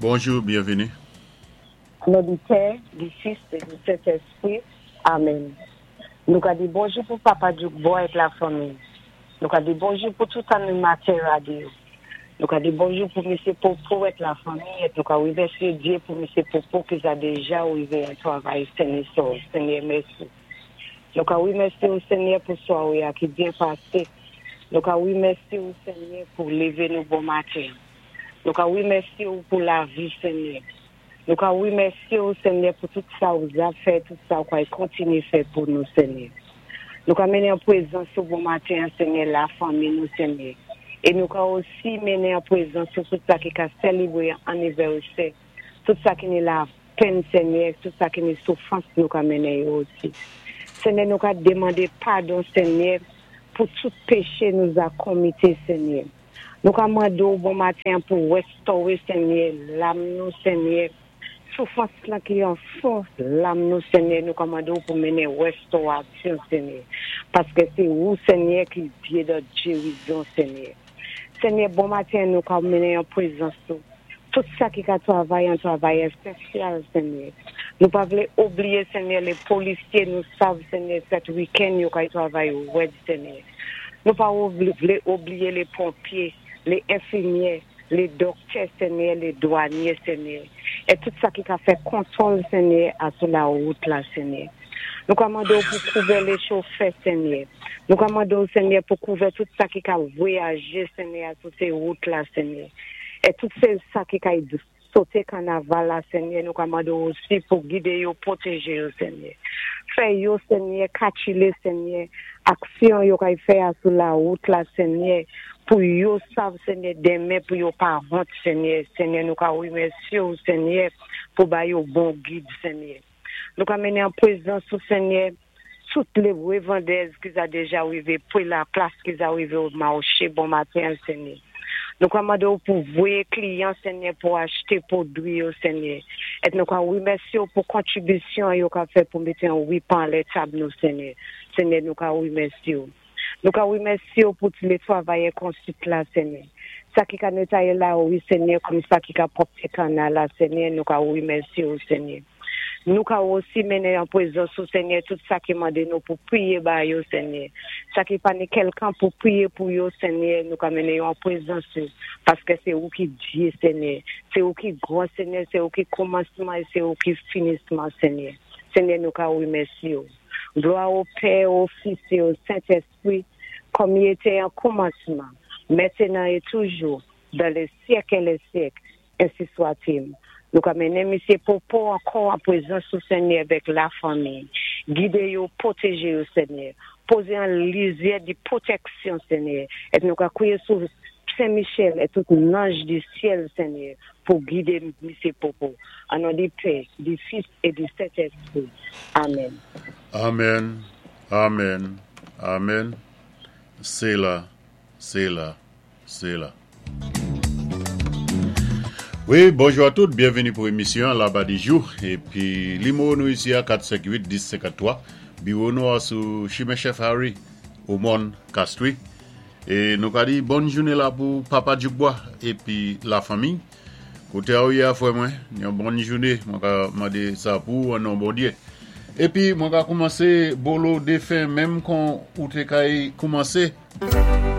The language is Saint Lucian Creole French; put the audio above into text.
Bonjou, byenvini. O non di Pè, di Fis é di Sentèspri. Amèn. Nou ka di bonjou pou Papa Djoukboy ak lafanmi. Nou ka di bonjou pou tout animatè radyo. Nou ka di bonjou pou Misyé Popo ak lafanmi é nou ka wimèsyé Dye pou Misyé Popo ki za déja wivé an twavay sen é sòv. Senyè mèsi. Nou ka wimèsyé ou Senyè pou swawe a ki byen pasé. Nou ka wimèsyé ou Senyè pou lévé nou bon maten. Nou ka wimèsyé ou pou lavi Senyè. Nou ka wimèsyé ou Senyè pou tout sa ou za fè, tout sa ou pway kontinyé fè pou nou Senyè. Nou ka mennen an pwézans ou bon maten an Senyè lafanmi nou Senyè. É nou ka osi mennen an pwézans ou tout sa ki ka sélébwé annivèsè, tout sa ki ni lapenn Senyè, tout sa ki ni soufrans nou ka mennen yo osi. Senyè nou ka démandé padon Senyè pou tout péché nou za konmité Senyè. Nou ka mandé ou bon maten an pou wéstowé Senyè lam nou Senyè, soufrans lan ki an fon lam nou Senyè nou ka mandé ou pou mennen wéstowasyon Senyè, paské sé ou Senyè ki Dye dè gérizon Senyè. Senyè bon maten nou ka mennen an pwézans ou tout sa ki ka twavay an twavayè sosyal Senyè. Nou pa vlé obliyé Senyè lé polisyé nou sav Senyè sèt wikenn yo kay twavay wèd Senyè. Nou pa vlé obliyé lé ponpyé, lé enfimyè, lé dòktè Senyè, lé dwanyé Senyè, é tout sa ki ka fè kontwòl Senyè asou lawout la Senyè. Nou ka mandé ou pou kouvè lé chofè Senyè. Nou ka mandé ou Senyè pou kouvè tout sa ki ka vwayajé Senyè asou sé wout la Senyè. É tout sé sa ki kay soté kanaval la Senyè nou ka mandé ou osi pou gidé yo, pwotèjé yo Senyè. Fè yo Senyè kakilé Senyè aksyon yo kay fè asou lawout la Senyè pou yo sav Senyè denmen pou yo pa wont Senyè. Senyè nou ka wimèsyé ou Senyè pou ba yo bon gid Senyè. Nou ka mennen an pwézans ou Senyè tout lé wévandèz ki za déja wivé pwé laplas ki za wivé o mawché bon maten an Senyè. Nou ka mandé ou pou voyé kliyan Senyè pou achté pwodwi yo Senyè. É nou ka wimèsyé ou pou kontribisyon yo ka fè pou mété an wipan anlè tab nou Senyè. Senyè nou ka wimèsyé ou. Nou ka wimèsyé ou pou lé twavayè konsit la Senyè. Sa ki ka netwayé lawi Senyè kòm sa ki ka pwòpté kannal la Senyè nou ka wimèsyé ou Senyè. Nou ka osi mennen an pwézans ou Senyè tout sa ki mandé nou pou pwiyé ba yo Senyè. Sa ki pa ni kèlkan pou pwiyé pou yo Senyè, nou ka mennen yo an pwézans ou paské sé ou ki Dye Senyè. Sé ou ki gran Senyè, sé ou ki kòmansman é sé ou ki finisman Senyè. Senyè nou ka wimèsyé ou. Glwa o Pè, o Fis é o Sentèspwi, kòm i été an kòmansman, mentenan é toujou, dan lè syèk é lè syèk. Ensi swatil. Nou ka mennen Misyé Popo ankò an pwézans ou Senyè avèk lafanmi. Gidé yo, pwotèjé yo Senyè. Pozé an lizyè di pwotèksyon Senyè. É nou ka kwiyé sou Sen Michèl é tout nanj di syèl Senyè pou gidé Misyé Popo. An non di Pè, di Fis é di Sentèspri. Amèn. Amen, amen, amen. Sela, sela, sela. Wi, bonjou a tout, byenvini pou emisyon Laba di jou. Épi, nimewo nou isi a 458 10 53. Biwo nou a sou chimen Chèf Harry, Omòn, Castries. É nou ka di bòn jounen la pou Papa Djoukbois épi lafanmi. Koté a ou yé a frè mwen, yon bòn jounen, mwen ka mandé sa pou ou an non Bondyé. Épi mwen ka koumansé bolo défen menm kon ou té kay koumansé.